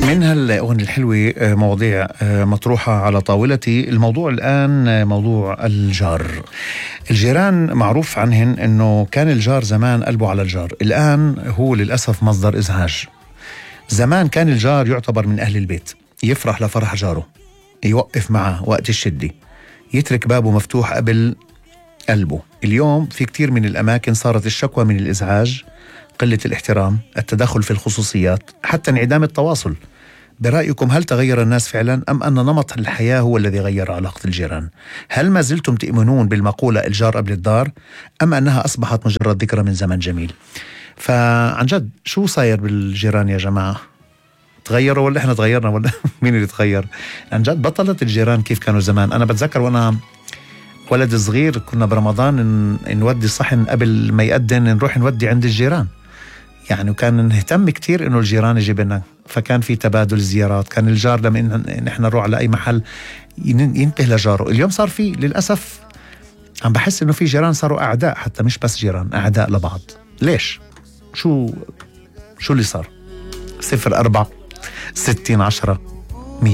من هالأغنية الحلوة مواضيع مطروحة على طاولتي. الموضوع الآن موضوع الجار. الجيران معروف عنهن أنه كان الجار زمان قلبه على الجار، الآن هو للأسف مصدر إزعاج. زمان كان الجار يعتبر من أهل البيت، يفرح لفرح جاره، يوقف معه وقت الشدة، يترك بابه مفتوح قبل قلبه. اليوم في كتير من الأماكن صارت الشكوى من الإزعاج، قلة الاحترام، التدخل في الخصوصيات، حتى انعدام التواصل. برأيكم هل تغير الناس فعلا أم أن نمط الحياة هو الذي غير علاقة الجيران؟ هل ما زلتم تؤمنون بالمقولة الجار قبل الدار أم أنها أصبحت مجرد ذكرى من زمن جميل؟ فعن جد شو صاير بالجيران يا جماعة؟ تغيروا ولا إحنا تغيرنا ولا مين اللي تغير؟ عن جد بطلت الجيران كيف كانوا زمان. أنا بتذكر وأنا ولد صغير كنا برمضان نودي صحن قبل ما يأذن نروح نودي عند الجيران، يعني وكان نهتم كتير إنه الجيران يجيب لنا، فكان في تبادل زيارات. كان الجار لما نحن نروح على أي محل ينتبه لجاره. اليوم صار في للأسف عم بحس إنه في جيران صاروا أعداء، حتى مش بس جيران، أعداء لبعض. ليش؟ شو اللي صار؟ 04 60 10 100.